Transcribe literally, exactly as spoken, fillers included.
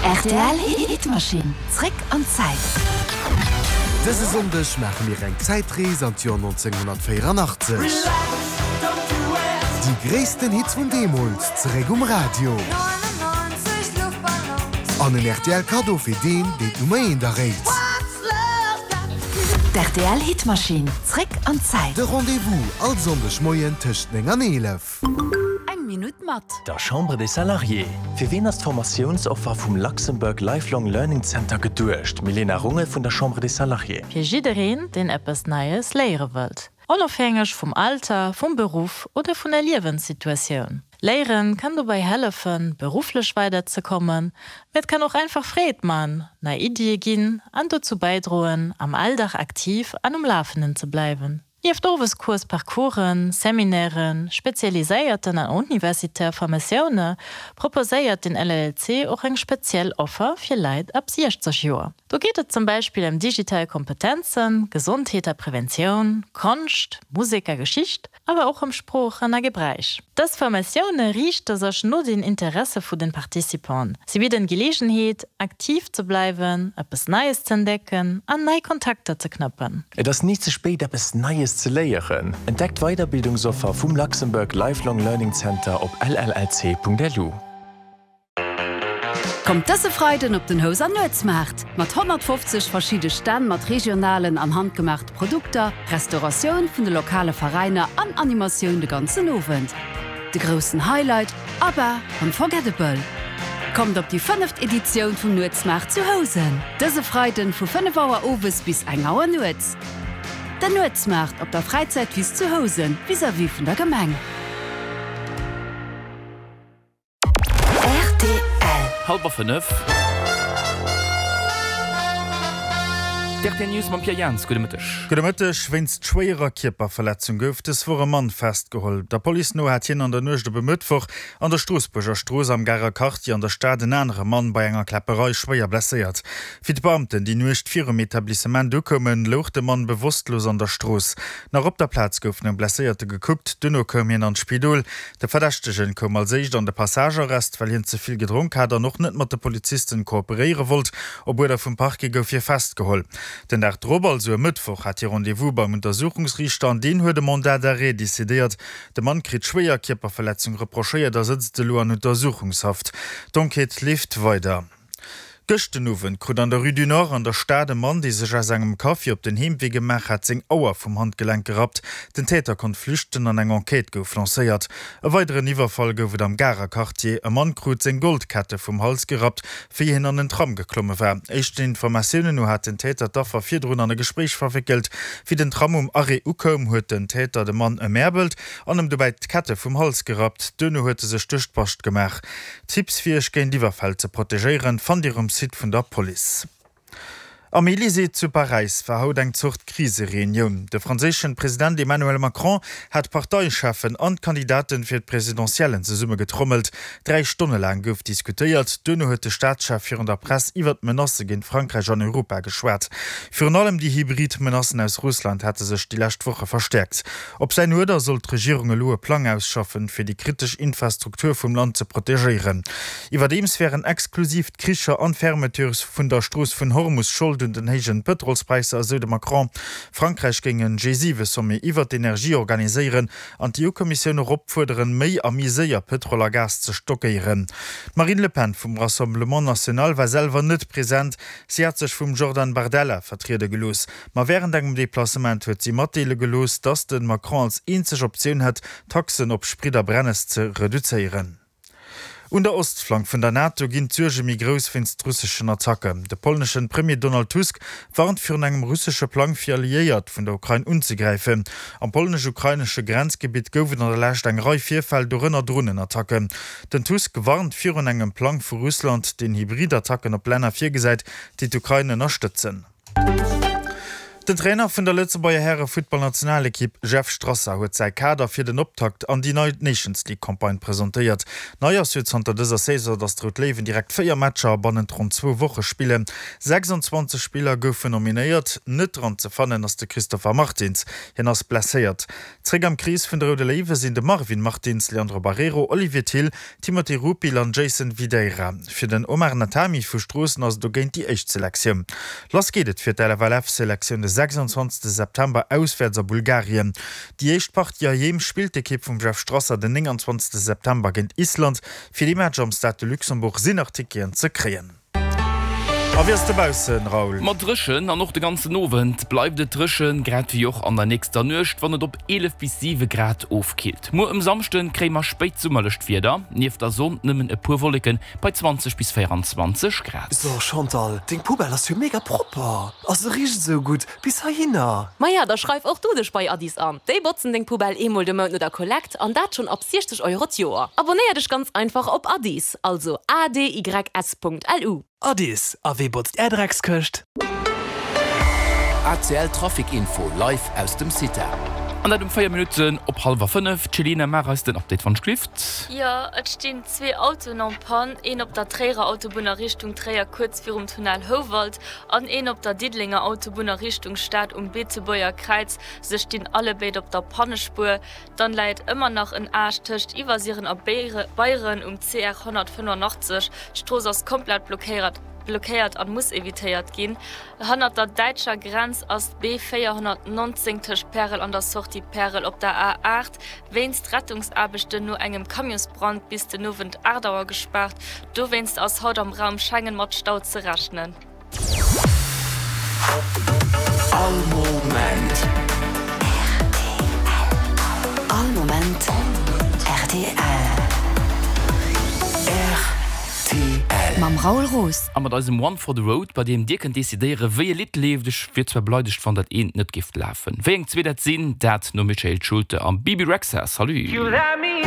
Rtl Hitmaschinn, zréck an d'Zäit. Dëse Sonndeg maache mir eng Zäitrees an d'Joer nonzénghonnertvéieranachtzeg. Déi gréissten Hits vun deemools zeréck um Radio. An en rtl Kaddo fir deen, deen d'Nummer eent erréit. D'RTL Hitmaschinn, zréck an d'Zäit. De Rendez-vous all Sonndeg Moien tëscht néng an eelef. Eng Minutt mat. Der Chambre des Salariés. Fir wien ass d'Formatiounsoffer vum Luxembourg Lifelong Learning Center geduecht? Milena Runge vun der Chambre des Salariés. Fir jiddereen, deen eppes Neies léiere wëllt. Onofhängeg vum Alter, vum Beruff oder vun der Liewenssituatioun. Léieren kann dobäi hëllefen, berufflech weiderzekommen, mee et kann och einfach Freed man, nei Iddie ginn an dozou bäidroen, am Alldag aktiv an um Lafenden ze bleiwen. Nieft Owescours-Parcoursen, Seminairen, spezialiséierten an universitäre Formatioune proposéiert den L L L C och eng speziell Offer fir Leit ab siechzeg Joer. Do geet et zum Beispill ëm digital Kompetenzen, Gesondheet a Preventioun, Konscht, Musek a Geschicht, awer och ëm Sproochen a Gebräich. Dës Formatioune riichte sech no den Interesse vun den Participanten. Si bidden d'Geleeënheet, aktiv ze bleiwen, eppes Neies ze entdecken an nei Kontakter ze knëppen. Et ass ni ze spéit, eppes Neies ze léieren. Entdeckt d'Weiderbildungsoffer vum Luxembourg Lifelong Learning Center op L L L C Punkt L U. Kommt dëse Freiden op den Houser Nuetsmaart. Mat honnertfofzeg verschidde Stänn mat regionalen an handgemaachte Produkter, Restauratioun vun de lokale Veräiner an Animatioun de ganzen Owend. De groussen Highlight, ABBA Unforgettable. Kommt op déi fënneft Editioun vum Nuetsmaart zu Housen. Dëse Freiden vu fënnef Auer owes bis eng Auer nuets. Den Nuetsmaart op der Fräizäitwiss zu Housen, vis-à-vis vun der Gemeng. R T L. Hallwer fënnef. D R T L News mam Pierre Jans. Gudde Mëtteg. Gudde Mëtteg. Wéinst schwéierer Kierperverletzung gouf dës Woch e Mann festgeholl. Der Police no hat hien an der Nuecht op e Mëttwoch an der Stroossbuerger Strooss am Garer Quartier an der Stad en anere Mann bei enger Kläpperei schwéier blesséiert. Wéi d'Beamten déi Nuecht virum Etablissement ukoumen, louch de Mann bewosstlos an der Strooss. Nach op der Plaz gouf nom Blesséierte gekuckt, duerno koum hien an d'Spidol. De Verdächtegen koum als éischt an de Passagearrest, well hien ze vill gedronk hat an och net mat de Polizisten kooperéiere wollt. Op Uerder vum Parquet gouf hie festgeholl. Den Dag drop, also e Mëttwoch, hat hie Rendez-vous beim Untersuchungsriichter an deen huet e Mandat d'arrêt decidéiert. De Mann kritt schwéier Kierperverletzung reprochéiert a sëtzt elo an Untersuchungshaft. D'Enquête leeft weider. Gëscht den Owend krut an der Rue du Nord an der Stad e Mann, dee sech aus engem Café op den Heemwee gemaach hat, seng Auer vum Handgelenk gerappt. Den Täter konnt flüchten an eng Enquête gouf lancéiert. E weideren Iwwerfall gouf et am Garer Quartier. E Mann krut seng Goldkette vum Hals gerappt, wéi hien an den Tram geklomme war. Éischten Informatiounen no hat den Täter d'Affer virdrun an e Gespréich verwéckelt. Wéi den Tram um Arrêt ukoum, huet den Täter de Mann ëmäerbelt an em dobäi d'Kette vum Hals gerappt. Duerno huet e sech duerch d'Bascht gemaach. Tipps fir iech géint Iwwerfäll ze protegéieren, fannt dir um Site vun der Police. Am Elysée zu Paräis war haut eng Zort Krisereunioun. De franséische President Emmanuel Macron hat d'Parteicheffen an d'Kandidaten fir d'Presidentiellen zesummegetrommelt. Dräi Stonne laang gouf diskutéiert. Duerno huet de Staatschef virun der Press iwwer d'Menacë géint Frankräich an Europa geschwat. Virun allem déi hybrid Menacen aus Russland hätte sech déi lescht Woche verstäerkt. Op säin Uerder soll d'Regierung elo e Plang ausschaffen, fir déi kritesch Infrastruktur vum Land ze protegéieren. Iwwerdeems wären exklusiv d'Kricher an d'Fermeture vun der Strooss vun Hormus Schold un den héije Pëtrolspräisser, esou de Macron. Frankräich géing en G siwe Sommet iwwer d'Energie organiséieren an d'E U-Kommissioun och opfuerderen, méi a méi séier Pëtrol a Gas ze stockéieren. D'Marine Le Pen vum Rassemblement National war selwer net present, si hat sech vum Jordan Bardella vertriede gelooss. Ma wärend engem Deplacement huet si matdeele gelooss, datt de Macron als eenzeg Optioun hätt, Taxen op Sprit a Brennes ze reduzéieren. Un der Ostflank vun der NATO ginn d'Suerge méi grouss wéinst russeschen Attacken. De polnesche Premier Donald Tusk warnt virun engem russesche Plang fir Alliéiert vun der Ukrain unzegräifen. Am polnesch-ukrainesche Grenzgebitt gouf et an der Lescht eng Rei Virfäll, dorënner Dronenattacken. Den Tusk warnt virun engem Plang vu Russland, deen Hybridattacken op Länner virgesäit, déi d'Ukrain ënnerstëtzen. Den Trainer vun der Lëtzebuerger Häre-Futtballnationalekipp Jeff Strasser huet säi Kader fir den Optakt an déi nei Nations League Campagne presentéiert. Nei ass jo zanter dëser Saison, datt d'Rout Léiwen direkt véier Matcher bannent ronn zwou Woche spillen. sechsundzwanzeg Spiller goufen nominéiert, net dran ze fannen ass de Christopher Martins, hien ass blesséiert. Zréck am Krees vun de Roude Léiwe sinn de Marvin Martins, Leandro Barreiro, Olivier Thill, Timothy Rupil an Jason Videira. Fir den Omar Natami vu Stroossen ass et dogéint déi éischt Selektioun. Lass geet et fir d'LFLF-Selektioun de sechsundzwanzegste September auswäerts a Bulgarien. Déi éischt Partie heiheem spillt d'Ekipp vum Jeff Strasser den nénganzwanzegste September géint Island. Fir dee Match am Stade de Luxembourg sinn nach Ticketen ze kréien. A wéi ass et dobaussen, Raoul? Ma dréchen an och de ganzen Owend bleift et dréchen, grad wéi och an der nächster Nuecht, wann et op eelef bis siwe Grad ofkillt. Muer um Samschde kréie mer spéitsummerlecht Wieder, nieft der Sonn nëmmen e puer Wolleken bei zwanzeg bis véieranzwanzeg Grad. So Chantal, deng Poubelle ass jo mega propper a se richt esou gutt bis heihinner. Maja, da schreif och du dech bei Addis an. Déi botzen deng Poubelle eemol de Mount no der Kollekt an dat schonn ab siechzeg Euro d'Joer. Abonnéier dech ganz einfach op Addis, also A D Y S Punkt L U. Addis, a wee botzt är Dreckskëscht? A C L Trafic Info live aus dem CITA. An dat um véier Minutten op hallwer fënnef. D'Chelina, maach eis den Update wann d'schlift. Jo, et stinn zwee Autoen en panne, een op der Tréierer Autobunn a Richtung Tréier kuerz virum Tunnel Houwald an een op der Diddelenger Autobunn a Richtung Stad um Beetebuerger Kräiz. Se stinn allebéid op der Pannespuer. Dann läit ëmmer nach en Aascht tëscht Iwwersiren a Beyren um C R honnertfënnefenachtzeg. D'Strooss ass komplett blockéiert blockéiert an muss evitéiert ginn. Hannert der däitscher Grenz ass d'B véierhonnertnonzéng tëscht Pärel an der Sortie Pärel op der A aacht wéinst Rettungsaarbechten no engem Camionsbrand bis den Owend aacht Auer gespaart. Dowéinst ass haut am Raum Schengen mat Stau ze rechnen. All Moment. All Moment rtl. Rtl. Mam Raoul Roos. A mat eisem One for the Road, bei deem dir kënnt decidéieren, wéi e Lidd leeft. Ech wier zwar beleidegt, wann dat eent net géif lafen. Wéi eng zwee dat sinn, dat nom Michael Schulte a Bebe Rexha. Salut.